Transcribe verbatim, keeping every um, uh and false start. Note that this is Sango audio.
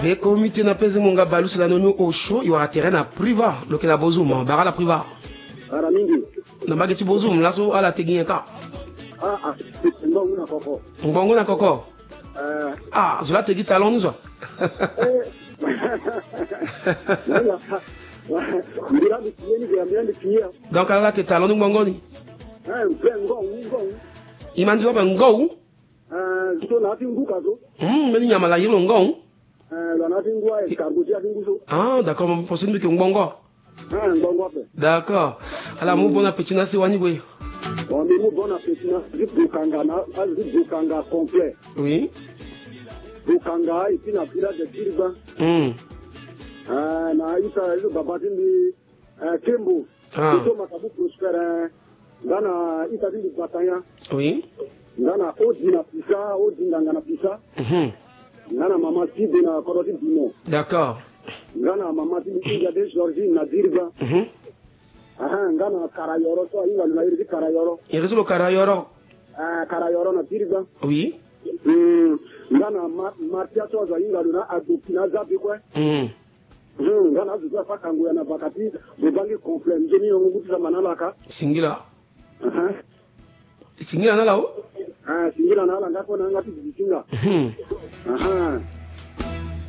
E komi ti na pese mo nga balu si lani ni osio i wara terrain na Priva lo yeke na Bozoum, bara ala Priva. Ara mingi. Na mbage ti Bozoum laso ala te gi nyen kâ? Ah, ah, ngbongo na koko. Ngbongo na koko. Eh. Ah, zo la te gi talon ni zo. Eh. Mbi la mbi la mbi la mbi la. Donc ala la te talon ni ngbongo ni. Eh, mpe ngongu ngongu. I ma ni zo ape ngongu. Eh, so na ya ti ngu ka so. Hmm, mbeni nyama la iri lo ngongu. Eh, lo na ya ti ngu aye escargot ti ya ti ngu so. Ah, d'accord, mo poso ni mbi yeke ngbongo. Ah, ngbongo ape. D'accord. Ala mu bon appétit na si wani gue. Bon, mbi mu bon appétit na si bokanga na si bokanga complet. Oui. Bokanga et puis na village de Kirba. Hmm. Eh, na ita ita baba ti mbi, eh, Kembo. Ah. Ito makabu Prospère, eh. Nga na ita ti mbi Batanya. Oui. Nga na Odi na Pisa, Odi nganga na Pisa. Mhm. Nga na mama Tibe na kodro ti Bimo. D'accord. Nga na mama ti mbi India de Georgie na Diriba. Mhm. Aha, nga na Karayoro so ahinga lo na iri ti Karayoro. Iri ti lo Karayoro. Ah, Karayoro na Diriba. Oui. Hmm. Nga na Ma-, Martia so azo ahinga lo na Adopi na Zabe kue. Hmm. Hmm, nga na azo so afa kango ya na baka ti bobangi complet nzoni yongo ngu ti samba na ala ka. Singila. Aha. Singila na ala o? Ah, singila na ala nga kue na yanga ti zizi singa. Hmm. Aha.